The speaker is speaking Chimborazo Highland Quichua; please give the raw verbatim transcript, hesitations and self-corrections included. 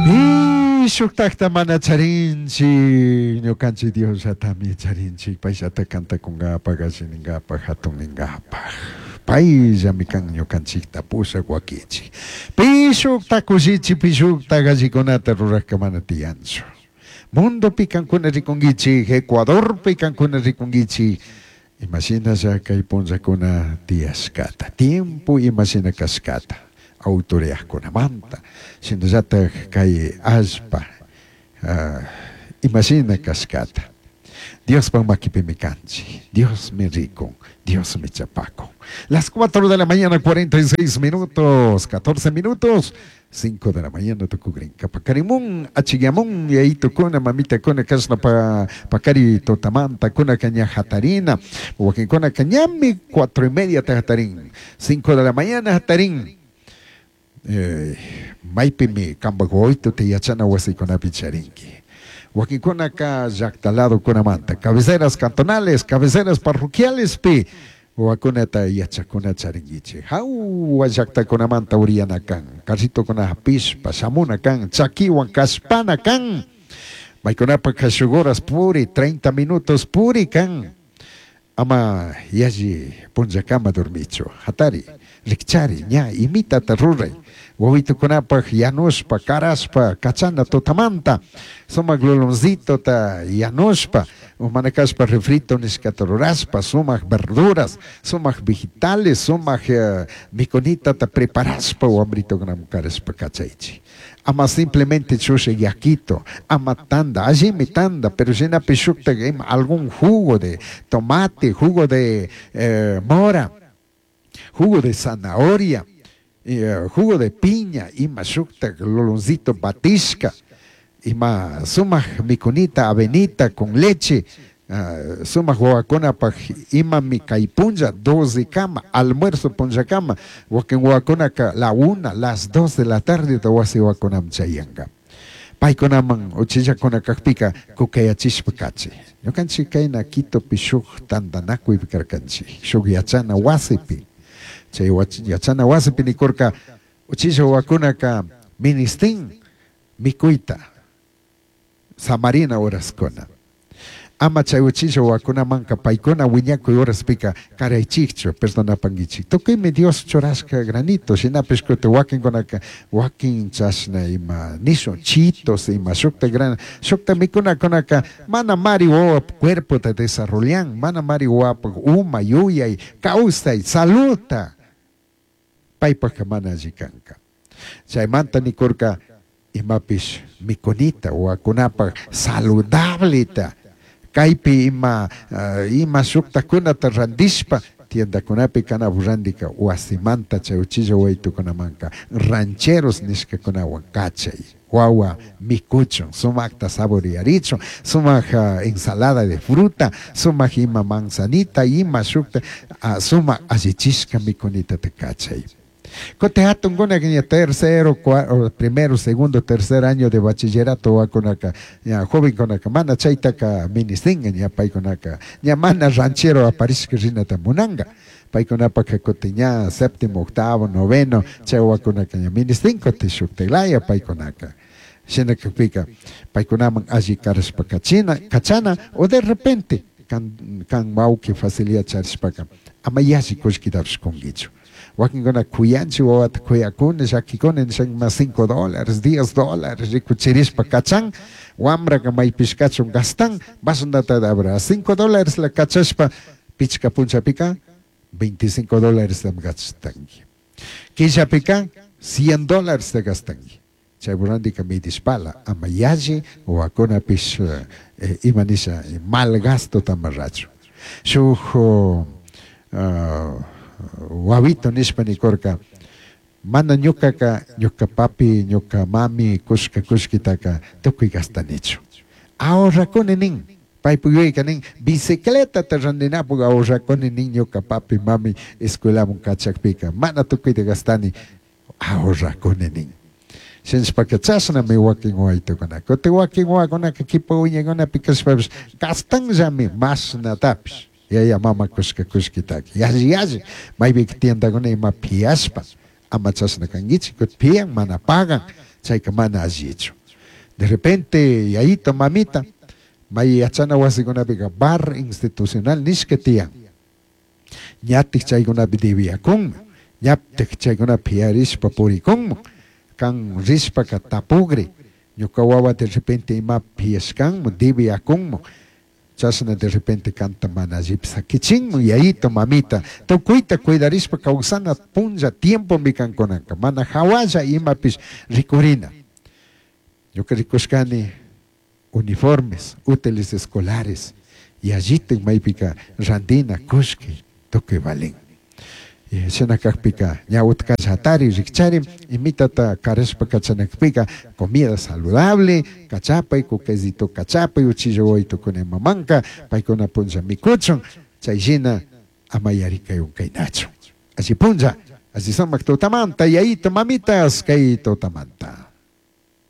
Pi shuktakta mana charinchik, ñukanchik Diosllatami charinchik, payllata cantakunkapak, alli ninkapak, hatun ninkapak. Payllami kan ñukanchikta pushak wakichik. Pi shukta kushichi, pi shukta allikunata rurakka mana tiyanchu. Mundopi kankuna rikunkichik, Ecuadorpi kankuna rikunkichik, imashinalla kay punllakuna tiyashkata, tiempo imashina kashkata, autoridadkunamanta, shinallatak kay allpa uh, imashina kashkata. Diospa makipimi kanchik, Diosmi rikun, Diosmi chapakun. Las cuatro de la mañana, cuarenta y seis minutos, catorce minutos, cinco de la mañana tukugrinka. Pakarimun, achigamun, yayitukuna, mamitakuna, kashna pa, pakari tutamanta, kuna ña hatarina, wakinkuna ñami cuatro y media ta hatarin, cinco de la mañana hatarin. Eh, maypimi kampak wawituta yachana wasikunapi charinki. Wakinkunaka llaqta ladokunamanta, cabeceras cantonales, cabeceras parroquiales pi wawakunata yachakuna charinkichik. Hawa llaqtakunamanta uriyana kan, carritokuna hapishpa shamuna kan, chakiwan kashpana kan. Maykunapaka shuk horas puri, treinta minutos puri kan. Ama yalli punllakama dormichu. Hatari, rikchari, ña imitata ruray. Wawitukunapaq yanushpa, karashpa, kachana tutamanta, sumak luluncitota yanushpa, mana kashpa refrito nishkata rurashpa, sumak verduras, sumak vegetales, sumak uh, mikunitata preparashpa wambritukunaman karashpa kachaychik. Ama simplemente chusha yakito, ama tanda, allimi tanda, pero shinapi shukta ima algún jugo de tomate, jugo de eh, mora, jugo de zanahoria, eh, jugo de piña, ima shukta loloncito batishka, ima sumak mikunita, avenita con leche, uh, sumak wawakunapaj imami kay punlla doce kama, almuerzo punllakama, wakin wawakunaka la una, las dos de la tarde ta wasi wawakunaman chayanka. Paykunaman uchillakuna kakpika kukayachishpa kachi. Ñukanchik kayna Quitopi shuk tantanakuypi karkanchik, shuk yachana wasipi. Chay yachana wasipi nikurka uchilla wawakunaka ministin mikuyta samarina horaskuna. Ama chay uchilla wawakunamanka paykuna wiñakuy horaspika karaychikchu, perdonapankichik. Tukuymi Dios churashka granito, shinapish kutin wakinkunaka wakin chashna ima nishun chitos ima shukta gran shukta mikunakunaka mana mari wawa cuerpota desarrollan, mana mari wawapak uma, yuyay, kawsay, saludta paypaka mana alli kanka. Chaymanta nikurka imapish mikunita wawakunapak saludableta kaypi ima uh, ima shuktakunata randishpa tiendakunapi kana randika wasimanta chay uchilla wawitukunamanka rancheros nishkakunawan kachay wawa mikuchun sumakta saborearichun, sumak uh, ensalada de fruta, sumak ima manzanita, ima shukta uh, sumak allichishka mikunita te kachay. Kutin hatunkuna ña tercero, primero, segundo, tercer año de bachillerato wawakunaka ña jovenkunaka mana chaytaka ministinga, ña paykunaka ña mana ranchero aparishka rinata munanga. Paykunapaka kutin ña séptimo, octavo, noveno chay wawakunaka ña ministin kutin shuktaklaya paykunaka. Shina kakpika paykunaman alli karashpa kachina kachana o de repente kan kan wawki facilidad charishpaka ama yalli kullkitapish kunkichu. Wakinkuna kuyanchik wawata, kuyakuni, llakikuni nishanka ma cinco dólares, diez dólares rikuchirishpa kachan, wambraka maypish kachun gastan, basundata habrá cinco dólares la kachashpa pichka punchapika veinticinco dólares gastanki. Killapika cien dólares te gastanki. Chay randika midishpala ama yalli wawakunapish eh, ima nisha mal gasto tamarrachu. Shuk uh, wawito nishpa nikurka mana ñukaka ñuka papi, ñuka mami kushka kullkitaka tukuy gastanichu, ahorrakuni nin. Paypuk yuyayka nin bicicletata randinapuk ahorrakuni nin. Ñuka papi, mami escuelaman kachakpika mana tukuyta gastani, ahorrakuni nin. Shinashpaka chashnami wakin wawitukuna. Kutin wakin wawakunaka kipa wiñaykunapi kashpapish gastanllami mashnatapish yaya mama kushka kullkitaka yalli yalli maypika tiendakuna ima piashpa. Ama chashna kankichik, kutin pian mana pagan. Chayka mana allichu. De repente yayito mamita may yachana wasikunapika bar institucional nishka tiyan. Ñatik chaykunapi debiakunmi, ñatik chaykunapi piarishpa purikunmi. Kan rishpaka tapugri, ñuka wawa de repente imapi piashkanman, debiakunman, chashna de repente kanta mana allipi sakichinman, yayito mamita, tukuyta cuidarishpa kawsana punlla tiempomi kankunaka, mana hawalla imapish rikurina. Ñuka rikushkani uniformes, útiles escolares, yallitik maypika randina, kullki, tukuy valin. Shina kakpika ña utkalla hatari rikchari imitata karashpa kachanakpika comida saludable kachapay kukaysito kachapay uchilla wawaytukuna imamanka paykuna punlla mikuchun chay shina ama yarikay unkaynachu. Alli punlla, alli sumak tutamanta, yayito mamitas kay tutamanta.